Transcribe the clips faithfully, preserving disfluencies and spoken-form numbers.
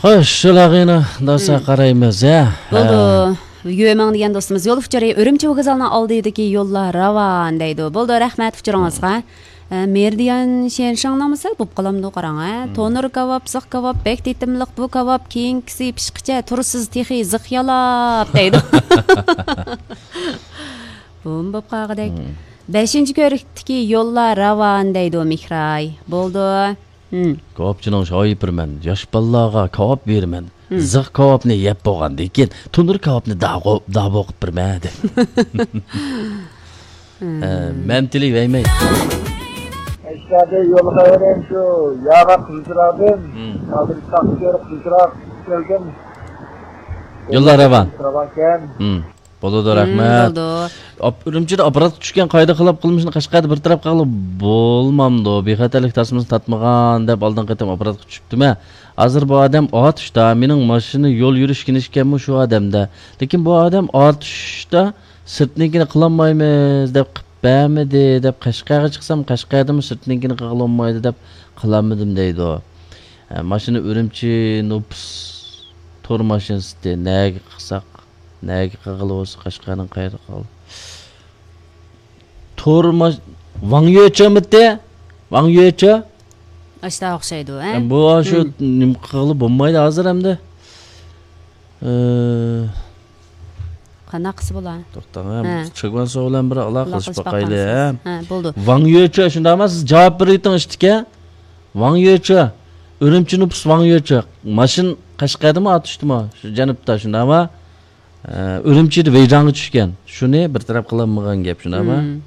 خوش، شۇلارغىنا داسا قارايمىز، ھە. بولدى. ھە. يۆمىڭ دېگەن دوستىمىز يول ئۇچۇرى ئۈرۈمچى ۋوگزالىنىڭ ئالدىدىكى يوللار راۋان دەيدۇ. بولدى، رەھمەت ئۇچۇرىڭىزغا. ئە، مېرىدىيان شيەنشىڭنىڭمۇ سەل بوپ قالامدۇ قاراڭ، ھە. تونۇر كاۋاپ، زىخ كاۋاپ، بەك تېتىملىق بۇ كاۋاپ، كېيىنكىسى پىشقىچە تۇرسىز تېخى زىخ يالاپ دەيدۇ. بۇمۇ بوپ قالغۇدەك. بەشىنچى كۆرۈكتىكى يوللار راۋان دەيدۇ مېھراي. بولدى. كاۋاپچىنىڭ شايى بىرمەن، ياش بالىلارغا كاۋاپ بېرىمەن. زىخ كاۋاپنى يەپ بولغاندىن كېيىن، تونۇر كاۋاپنى داغۇ-، داۋۇ قىلىپ بېرىمەن، دەپ. ئە، مەن تىلى ۋەيمەي. ئەشتادە يول خەۋىرىم شۇ ياغا قىزچىراغدىن. ھازىر تاختىكۆرە قىزچىراغ كەلگەن. يوللار راۋان. راۋانكەن. بولىدۇ، رەھمەت. بولىدۇ. ئاپ-، ئۈرۈمچىدە ئاپپاراتقا چۈشكەن قائىدە خىلاپ قىلمىشنى قەشقەردە بىر تەرەپ قىلغىلى بولمامدۇ؟ بىخەتەرلىك تاسمىسىنى تارتمىغان دەپ ئالدىنقى قېتىم ئاپپاراتقا چۈشۈپتىمەن. ھازىر بۇ ئادەم ئاتۇشتا، مېنىڭ ماشىنا يول يۈرۈش كىنىشكاممۇ شۇ ئادەمدە. لېكىن بۇ ئادەم ئاتۇشتا سىرتنىڭكىنى قىلالمايمىز دەپ قىلىپ بەرمىدى دەپ قەشقەرگە چىقسام، قەشقەردىمۇ سىرتنىڭكىنى قىلغىلى بولمايدۇ دەپ قىلالمىدىم دەيدۇ. ھە، ماشىنا ئۈرۈمچى نوپۇس تور ماشىنىسى نەگە قىلساق؟ نەگە قىلغىلى بولسا قەشقەرنىڭ قايرىقى قالدى. تورماش، ۋاڭ يۆچىمىتى؟ ۋاڭ يۆچى؟ ئاشتا ئوخشايدۇ، ھە؟ بۇ شۇ نېمە قىلغىلى بولمايدۇ ھازىر ئەمدى. ئى، قانداق قىلسا بولا؟ توختاڭ، ھە. چىگۋان سو بىلەن بىر ئالاقىلىشىپ باقايلى، ھە؟ ھە، بولدى. ۋاڭ يۆچى، شۇنداقمۇ؟ سىز جاۋاب بېرىۋېتىڭ ئىشتىكە. ۋاڭ يۆچى، ئۈرۈمچى نوپۇس ۋاڭ يۆچى. ماشىنا قەشقەردىمۇ، ئاتۇشتىمۇ؟ شۇ جەنۇبتا، شۇنداقمۇ؟ ئە، ئۈرۈمچىدە ۋېيجاڭغا چۈشكەن. شۇنى بىر تەرەپ قىلالمىغان گەپ، شۇنداقمۇ؟ مم.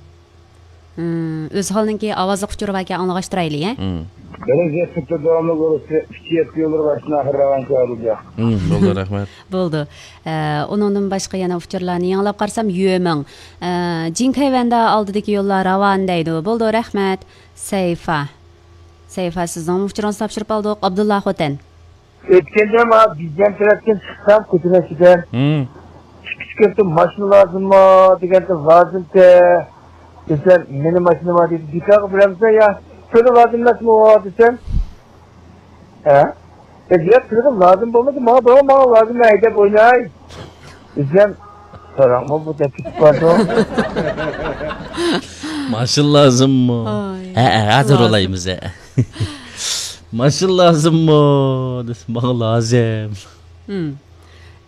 مم. ئۆزھالنىڭكى ئاۋازلىق ئۇچۇرى باركەن، ئاڭلىغاچ تۇرايلى، ھە؟ مم. بىرىنچى سىنىپتا داۋاملىق بولۇپ، ئۈچ يەتتە يوللىرى باشتىن ئاخىر راۋان كەلدى. مم، بولدى، رەھمەت. بولدى. ئە، ئۇنىڭدىن باشقا يەنە ئۇچۇرلارنى يېڭىلاپ قارىسام، يۆمىڭ. ئە، جىڭكەيۋەندە ئالدىدىكى يوللار راۋان دەيدۇ. بولدى، رەھمەت. سەيفا. سەيفا، سىزنىڭ ئۇچۇرىڭىزنى تاپشۇرۇپ ئالدۇق. ئابدۇللا خوتەن. ئۆتكەندە ما بىزدىن تەرەپتىن چىقسام كوچىنىڭ ئىچىدىن، مم، ئىككى كىشى كېلىپ، «ماشىنا لازىممۇ؟» دېگەندە، «لازىمتى» دېسەم، «مېنىڭ ماشىنام بار» دېدى. «بىكارغا بېرەمسەن يا؟ سېنىڭ لازىم ئەمەسمۇ؟» دېسەم، «ھە؟» دېدى. «ياق، سېنىڭ لازىم بولمىسا، ماڭا بەرمە، ماڭا لازىم، مەن ھەيدەپ ئويناي» دېسەم، «ساراڭمۇ بۇ دەپ كېتىپ بارىدۇ.» ماشىنا لازىممۇ؟ ھە، ھە، ھازىر ئولايمىز، ھە. ماشىنا لازىممۇ دېسە، ماڭا لازىم. مم.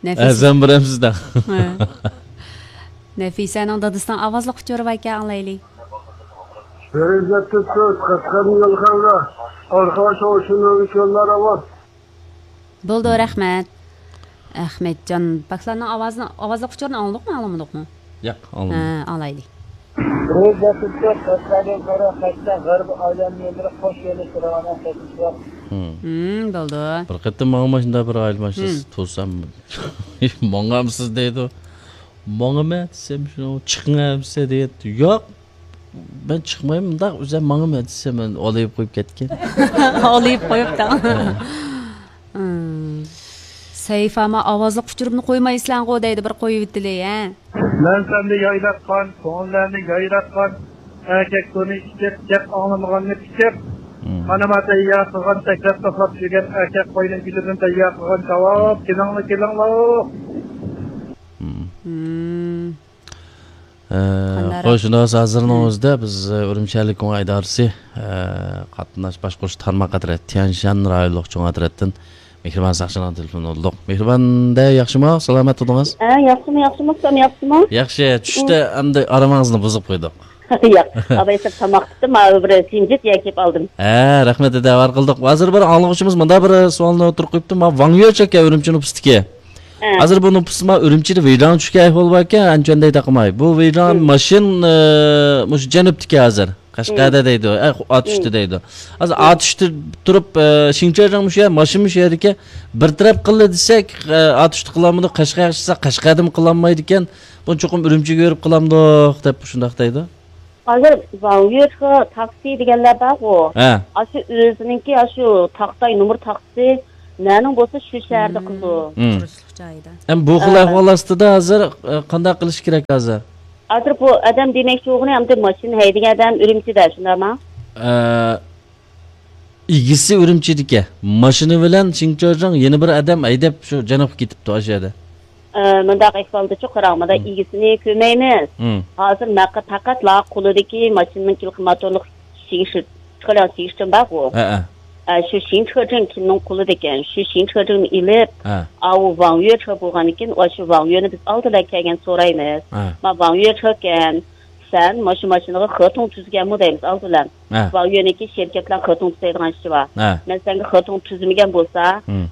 نەفىسە. ئەزەم بىرەمسىز دە. ھە. نەفىسەنىڭ دادىسىنىڭ ئاۋازلىق ئۇچۇرى باركەن، ئاڭلايلى. بىرىنچى تۈرتۈك، قەشقەردىن يول خەۋىرى. ئارقىدىن شۇ شۇنىڭ ئۈچۈن راۋان. بولدى، رەھمەت. ئەخمەتجان پاكلارنىڭ ئاۋازىنى، ئاۋازلىق ئۇچۇرىنى ئاڭلىدۇقمۇ، ئاڭلىمىدۇقمۇ؟ ياق، ئاڭلىمىدىم. ھە، ئاڭلايلى. بىرىنچى تۈرتۈك، قەشقەردىن كۆرە قەشقەر غەربىي ئايلانما يوللىرى قوش يۆنىلىشتە راۋان ئەمەسمىز. مم، بولدى. بىر قېتىم ماڭا مۇشۇنداق بىر ئايلانما، مم، توسام، «ماڭامسىز؟» دەيدۇ. «ماڭىمەن» دېسەم، شۇ «چىقىڭە» دېسە دەيدۇ. «ياق، مەن چىقمايمەن، مۇنداق ئۆزۈم ماڭىمەن» دېسەم، مەن ئولىيىپ قويۇپ كەتكەن. ئولىيىپ قويۇپتۇ. ھە. مم. سەيفا، ما ئاۋازلىق ئۇچۇرۇمنى قويمايسىلەرغۇ دەيدۇ، بىر قويۇۋېتىلى، ھە. مەن سەندە يايراتقان، كۆڭۈللەرنى يايراتقان، ئەركەك تونى ئىچىپ، گەپ ئاڭلىمىغاننى پىچىپ، مم، مانا ما تەييار قىلغان، تەكرار توختاپ يۈرگەن ئەركەك قوينىڭ گۈدۈكىنى تەييار قىلغان كاۋاپ، كېلىڭلار، كېلىڭلار. مم. مم. ئە، قانداق خوش، شۇنداق بولسا ھازىرنىڭ، مم، ئۆزىدە بىز، ئە، ئۈرۈمچى شەھەرلىك كوڭ ئىدارىسى، ئە، قاتناش باشقۇرۇش تارماق ئەترەت، تيەنشان رايونلۇق چوڭ ئەترەتتىن مېھرىبان ساقچىنىڭ تېلېفونىنى ئالدۇق. مېھرىبان دە، ياخشىمۇ؟ سالامەت تۇردىڭىز؟ ھە، ياخشىمۇ، ياخشىمۇ؟ سىلەر ياخشىمۇ؟ ياخشى. چۈشتە ئەمدى ئارامىڭىزنى بۇزۇپ قويدۇق. ياق، ئاباي سىر تاماق تۇتتۇم، ھازىر بىر سىنجىت يەپ كېلىپ ئالدىم. ھە، رەھمەت، ئەتىۋار قىلدۇق. ھازىر بىر ئاڭلىغۇچىمىز مۇنداق بىر سوئالنى ئوتتۇرىغا قويۇپتۇ. ما ۋاڭ يۆچەك ئۈرۈمچى نوپۇستىكى. ھە. ھازىر بۇ نوپۇستا ما ئۈرۈمچىدە ۋېيجاڭ چۈشكەن ئەھۋال باركەن، ئەنچۈەندە تاقىماي. بۇ ۋېيجاڭ، مم، ماشىنا، ئە، مۇشۇ جەنۇبتىكى ھازىر. قەشقەردە، مم، دەيدۇ. ئە، ئاتۇشتا، مم، دەيدۇ. ھازىر، مم، ئاتۇشتا تۇرۇپ، ئە، شىڭچېجىڭ مۇشۇ يەر، ماشىنا مۇشۇ يەردىكى. بىر تەرەپ قىلدى دېسەك، ئە، ئاتۇشتا قىلالمىدۇق، قەشقەرگە چىقسا، قەشقەردىمۇ قىلالمايدىكەن. بۇنى چوقۇم ئۈرۈمچىگە بېرىپ قىلامدۇق دەپ شۇنداق دەيدۇ. ھازىر ۋاڭيۆچخې تاكسى دېگەنلەر بارغۇ. ھە. ئاشۇ ئۆزىنىڭكى ئاشۇ تاختاي نومۇر تاكسى نەنىڭ بولسا شۇ شەھەردە، مم، قىلىدۇ. مم. تۇرۇشلۇق جايىدا. ئەمما بۇ خىل، ھە، ئەھۋال ئاستىدا ھازىر، ئە، قانداق قىلىش كېرەك ھازىر؟ ھازىر بۇ ئادەم دېمەكچى بولغىنى ئەمدى ماشىنا ھەيدىگەن ئادەم ئۈرۈمچىدە، شۇنداقمۇ؟ ئە، ئىگىسى ئۈرۈمچىدىكى. ماشىنا بىلەن شىڭچاجاڭ يەنە بىر ئادەم ھەيدەپ شۇ جەنۇبقا كېتىپتۇ ئاشۇ يەردە. ئە، مۇنداق ئەھۋالدىچۇ قاراڭ، مۇنداق ئىگىسىنى كۆرمەيمىز. ھازىر ماقا پەقەتلا قولىدىكى ماشىنىنىڭ كىلىكى موتورلۇق شىڭشىر، چىقىرىڭ شىڭشىر بارغۇ. ھەئە. ئە، شۇ شىڭچاجاڭ كىمنىڭ قولىدىكەن، شۇ شىڭچاجاڭنى ئېلىپ، ھە. ئاۋۇ ۋاڭ يۆچا بولغاندىكىن، ئاشۇ ۋاڭ يۆنى بىز ئالدىلا كەلگەن سورايمىز. ھە. ما ۋاڭ يۆچاكەن، سەن ماشۇ ماشىنىغا خېتۇڭ تۈزگەنمۇ دەيمىز ئالدىلا. ھە. ۋاڭ يۆنىكى شىركەتلەر خېتۇڭ تۈزەيدىغان ئىشى بار. ھە. مەن سەنگە خېتۇڭ تۈزمىگەن بولسا،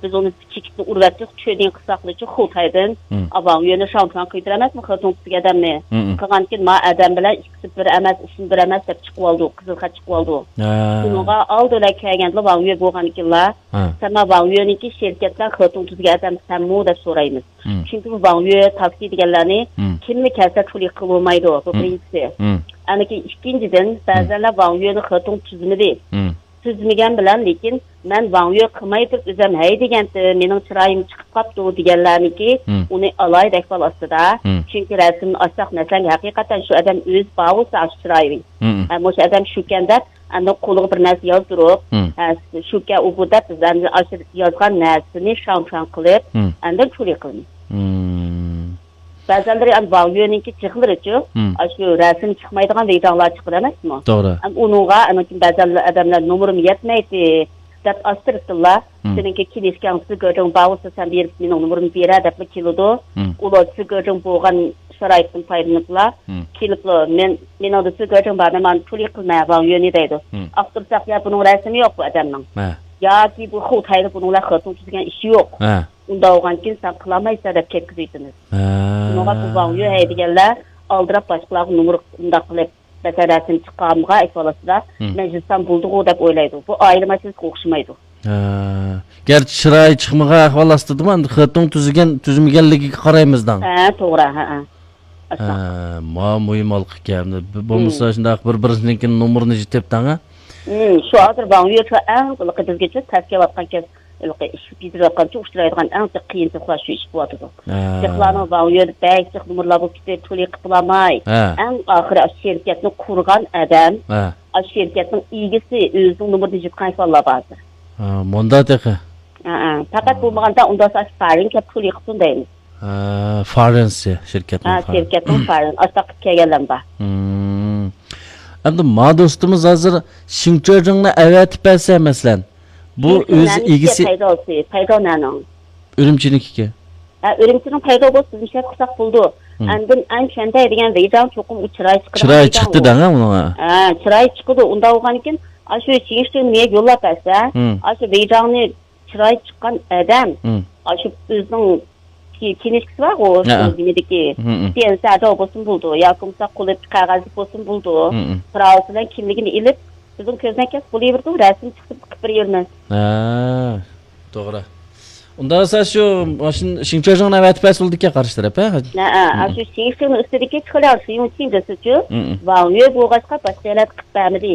بىز ئۇنى چېكىتنى ئۇرۇۋەتتۇق، چۆدىن قىساقلىچۇ خۇتايدىن. ئا، ۋاڭ يۆنى شاڭچۇاڭ قىلىۋېتەلمەسمۇ خېتۇڭ تۈزگەن ئادەمنى؟ قىلغاندىكىن ما ئادەم بىلەن ئىككىسى بىر ئەمەس، ئىسمى بىر ئەمەس دەپ چىقىۋالدى، قىزىل خەت چىقىۋالدى. ھە. شۇنىڭغا ئالدى بىلەن كەلگەندىلا ۋاڭ يۆ بولغاندىكىنلا، ھە. سەن ما ۋاڭ يۆنىكى شىركەتلەر خېتۇڭ تۈزگەن ئادەم سەنمۇ دەپ سورايمىز. چۈنكى بۇ ۋاڭ يۆ، تاكسى دېگەنلەرنى كىملا كەلسە چۇلى قىلىۋالمايدۇ، بۇ بىرىنچىسى. ئەنىكى ئىككىنچىدىن، بەزەنلەر ۋاڭ يۆنى خېتۇڭ تۈزمىدى. تۈزمىگەن بىلەن، لېكىن مەن ۋاڭ يۆ قىلماي تۇرۇپ ئۆزۈم ھەيدىگەنتىم، مېنىڭ چىرايىم چىقىپ قاپتۇ دېگەنلەرنىكى ئۇنى ئالاھىدە ئەھۋال ئاستىدا. چۈنكى رەسىمنى ئاچساق، مەسىلەن، ھەقىقەتەن شۇ ئادەم ئۆزى بار بولسا شۇ چىرايى. ھە، مۇشۇ ئادەم شۇكەن دەپ، ئاندىن قولىغا بىر نەرسە يازدۇرۇپ، ھە، شۇكەن ئۇ بۇ دەپ، بىز ئەمدى ئاشۇ يازغان نەرسىنى شاڭ-شاڭ قىلىپ، ئاندىن چۇلى قىلىمىز. بەزەنلىرى ئەمدى ۋاڭ يۆنىڭكى جىقلىرىچۇ، ئاشۇ رەسىم چىقمايدىغان ۋېيجاڭلار چىقىدۇ ئەمەسمۇ؟ توغرا. ئەم، ئۇنىڭغا ئەنىڭكىن بەزەن ئادەملەر نومۇرۇم يەتمەيتتى دەپ ئاستىرتىنلا، سېنىڭكى كىنىشكاڭ سىگېجىڭ بار بولسا سەن بېرىپ مېنىڭ نومۇرۇمنى بېرە دەپلا كېلىدۇ. ئۇلار سىگېجىڭ بولغان شارائىتتىن پايدىلىنىپلا، كېلىپلا، مەن، مېنىڭدە سىگېجىڭ بار، مەن مانا چۇلى قىلىمەن ۋاڭ يۆنى دەيدۇ. ئاختۇرساق، يا بۇنىڭ رەسىمى يوق بۇ ئادەمنىڭ. ياكى بۇ خۇتايدا بۇنىڭ بىلەن خېتۇڭ تۈزگەن ئىشى يوق. ئۇنداق بولغاندىكىن سەن قىلالمايسەن دەپ كەتكۈزۈۋېتىمىز. شۇنىڭغا بۇ ۋاڭ يۆ ھەيدىگەنلەر ئالدىراپ باشقىلارغا نومۇر ئۇنداق قىلىپ، مەسىلەن، رەسىم چىقارمىغان ئەھۋالاتىدا مەجلىستان بولدىغۇ دەپ ئويلايدۇ. بۇ ئائىلە مەسىلىسىگە ئوخشىمايدۇ. ھە. گەرچە چىرايى چىقمىغان ئەھۋال ئاستىدىمۇ، ئەمدى خېتۇڭ تۈزگەن، تۈزمىگەنلىكىگە قارايمىز داڭ. ھە، توغرا، ھە، ھە. ھە، ما مۇھىم ھالقىكەن. بولمىسا شۇنداق بىر-بىرىنىڭكى نومۇرىنى يېتىپ داڭ، ھە؟ شۇ ھازىر ۋاڭ يۆ ئەڭ بىزگىچە تەس كېلىۋاتقان كەس ھېلىقى ئىش بېجىرىۋاتقانچە ئۇچرايدىغان ئەڭ جىق قىيىنچىلىقلار شۇ ئىش بولۇۋاتىدۇ. ھە. جىقلارنىڭ ۋاڭ يۆ بەك جىق نومۇرلار بولۇپ كېتىپ، تولۇق قىلىپ بولالماي. ھە. ئەڭ ئاخىرى ئاشۇ شىركەتنى قۇرغان ئادەم، ھە. ئاشۇ شىركەتنىڭ ئىگىسى ئۆزىنىڭ نومۇرىنى يىتقان ئەھۋاللار بار ھازىر. ھە، مۇندا تېخى. ھە، ھە. پەقەت بولمىغاندا ئۇنداق ئاشۇ فارىن كەپ تولۇق قىلسۇن دەيمىز. ھە، فارېنسى شىركەتنىڭ ھە، فارېن. شىركەتنىڭ فارېن. ئاشۇنداق قىلىپ كەلگەنلەر بار. ئەمدى ما دوستىمىز ھازىر شىڭچۆجىڭنى ئەۋەتىپ بەرسە، مەسىلەن، بۇ ئۆز ئىگىسى پەيداسى، پەيدا نەنىڭ؟ ئۈرۈمچىنىڭكىكى. ھە، ئۈرۈمچىنىڭ پەيدا بولسا بىز مۇشۇ يەردە قىلساق بولىدۇ. ئەندىن ئەن شەندەي دېگەن ۋېيجاڭ چوقۇم ئۇ چىراي چىقىدىغان چىراي ۋېيجاڭ چىقتى ئۇ. دەڭ ھە، ئۇنىڭ. ھە، چىراي چىقىدۇ. ئۇنداق بولغاندىكىن، ئاشۇ شىڭشىڭنى مېگە يوللاپ بەرسە، ئاشۇ ۋېيجاڭنى چىراي چىققان ئادەم، ئاشۇ ئۆزىنىڭ كى-، كىنىشكىسى بارغۇ، ھە. نېمىدىكى، سىيەنسەدە بولسىمۇ بولىدۇ، ياكى بولمىسا قولى قەغەزلىك بولسىمۇ بولىدۇ. پىراۋىسى بىلەن كىملىكىنى ئېلىپ، بىزنىڭ كۆزدىن كەچ بولۇۋېرىدۇ، رەسىم چىقىپ قىلىپ بېرىۋېرىمىز. ھە، توغرا. ئۇنداق بولسا شۇ ماشىنا شىڭچۆجىڭنى ئەۋەتىپ بەرسە بولىدىكەن قارشى تەرەپ، ھە؟ ھە، ھە، شۇ شىڭشىڭنىڭ ئۈستىدىكى چىخلياۋ شىيۇڭچىڭ دېسىچۇ، ۋاڭ يۆ بولغاچقا باشقا يەرلەردە قىلىپ بەرمىدى.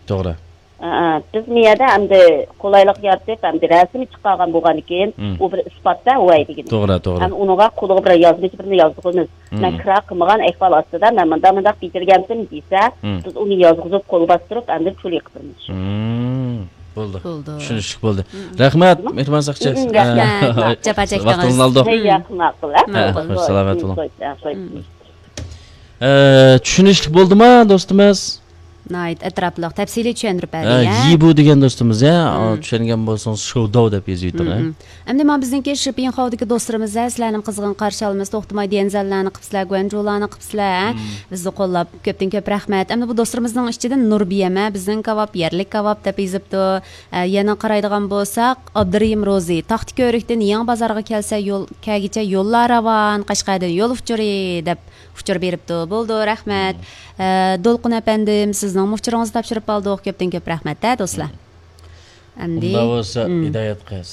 توغرا. ھە، ھە، بىز مىيەدە ئەمدى قولايلىق يارىتىپ، ئەمدى رەسىمى چىقارغان بولغاندىكىن، ئۇ بىر ئىسپات-دە، ۋاي دېگىنى. توغرا، توغرا. ھەم ئۇنىڭغا قولىغا بىر يازغۇچ بىرنى يازدۇرىمىز. مەن كىرا قىلمىغان ئەھۋال ئاستىدا، مەن مۇنداق، مۇنداق بېجىرگەنتىم دېسە، بىز ئۇنى يازغۇزۇپ، قول باستۇرۇپ، ئەمدى چۇلى قىلىمىز. بولدى. بولدى. چۈشىنىشلىك بولدى. رەھمەت، مېھرىبان ساقچى. رەھمەت. جاپا چەكتىڭىز. ۋاقتىڭىزنى ئالدۇق. ياقىن ماقۇل، ھە؟ ھە، خوش، سالامەت بولۇڭ. ئە، چۈشىنىشلىك بولدىما، دوستىمىز؟ ناھايىتى ئەتراپلىق، تەپسىلىي چۈشەندۈرۈپ بەردى، ھە، يا؟ يىبۇ دېگەن دوستىمىز، يا؟ ئا، چۈشەنگەن بولسىڭىز، شوۋداۋ دەپ يېزىۋېتىڭ، ھە؟ ئەمدى مانا بىزنىڭكى شىپىڭخاۋدىكى دوستلىرىمىز، ھە، سىلەرنىمۇ قىزغىن قارشى ئالىمىز، توختىماي ديەنزەنلەرنى قىپسىلەر، گۇەنجۇلارنى قىپسىلەر، ھە؟ بىزنى قوللاپ، كۆپتىن كۆپ رەھمەت. ئەمدى بۇ دوستلىرىمىزنىڭ ئىچىدىن نۇربىيەم، ھە، بىزنىڭ كاۋاپ، يەرلىك كاۋاپ دەپ يېزىپتۇ. ھە، يەنە قارايدىغان بولساق، ئابدۇرېھىم روزى، تاختىكۆۋرۈكتىن يېڭى بازارغا كەلسە يول، كەلگۈچە يوللار راۋان، قەشقەردىن يول ئۇچۇرى دەپ ئۇچۇر بېرىپتۇ. بولدى، رەھمەت. ئە، دولقۇن ئەپەندىم، سىزنىڭمۇ ئۇچۇرىڭىزنى تاپشۇرۇپ ئالدۇق. كۆپتىن كۆپ رەھمەت، ھە، دوستلار. ئەمدى ئۇنداق بولسا، ھىدايەت قىز،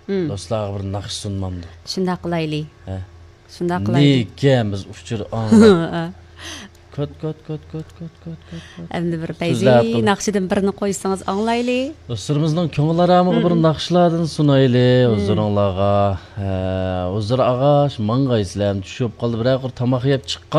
دوستلارغا بىر ناخشا سۇنمامدۇ؟ شۇنداق قىلايلى. ھە. شۇنداق قىلايلى. نېكەن بىز ئۇچۇر ئاڭلاپ. كۆت، كۆت، كۆت. ئەمدى بىر پەيزى ناخشىدىن بىرنى قويسىڭىز ئاڭلايلى. دوستلىرىمىزنىڭ كۆڭۈل ئارامىغا بىر ناخشىلاردىن سۇنايلى ھۇزۇرۇڭلارغا. ھە، ھۇزۇر ئاغاش، ماڭغايسىلەر، چۈش بولۇپ قالدى، بىرەر قۇر تاماق يەپ چىققان